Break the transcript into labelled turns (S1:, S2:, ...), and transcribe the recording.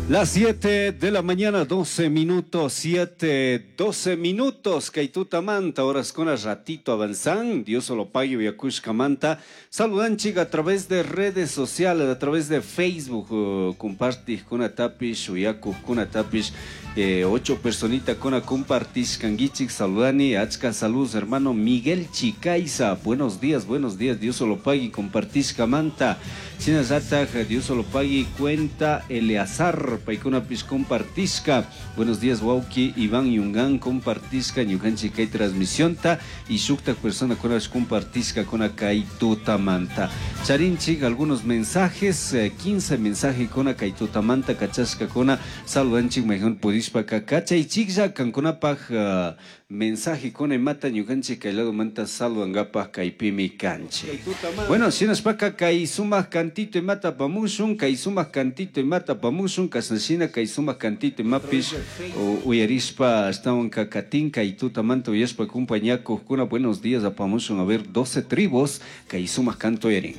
S1: Las 7 de la mañana, 12 minutos, 7, 12 minutos. Kay tutamanta, horas con ratito avanzan. Dios lo pague, uyacushcamanta. Saludanchik a través de redes sociales, a través de Facebook. Compartijcunatapish, uyacujcunatapish. Ocho personita con compartishcanguichik. Saludani, achka saludos, hermano Miguel Chicaiza. Buenos días, Dios lo pague, compartishcamanta. Shinallataj, Dios lo pague, cuenta Eleazar. Paykunapish compartishka. Buenos días, wauki Iván Yungan, compartishka ñukanchik kay transmisionta y shuktak personakunapish compartishka kuna kay tutamanta. Charinchik algunos mensajes, 15 mensaje kuna kay tutamanta kachashkakuna. Saludanchik mayhan pudishpaka kachaychiklla kankunapaj mensaje kuna imata ñukanchik kay ladomanta saludankapaj kaypimi kanchik. Bueno, shinashpaka kay sumak cantito imata apamushun, kay sumak cantito imata apamushun, kashnashina kay sumak cantito imapish uyarishpa ashtawan kakatin kay tutamanta uyashpa compañakujkuna. Buenos días apamushun, a ver, 12 tribus kay sumak canto uyarin.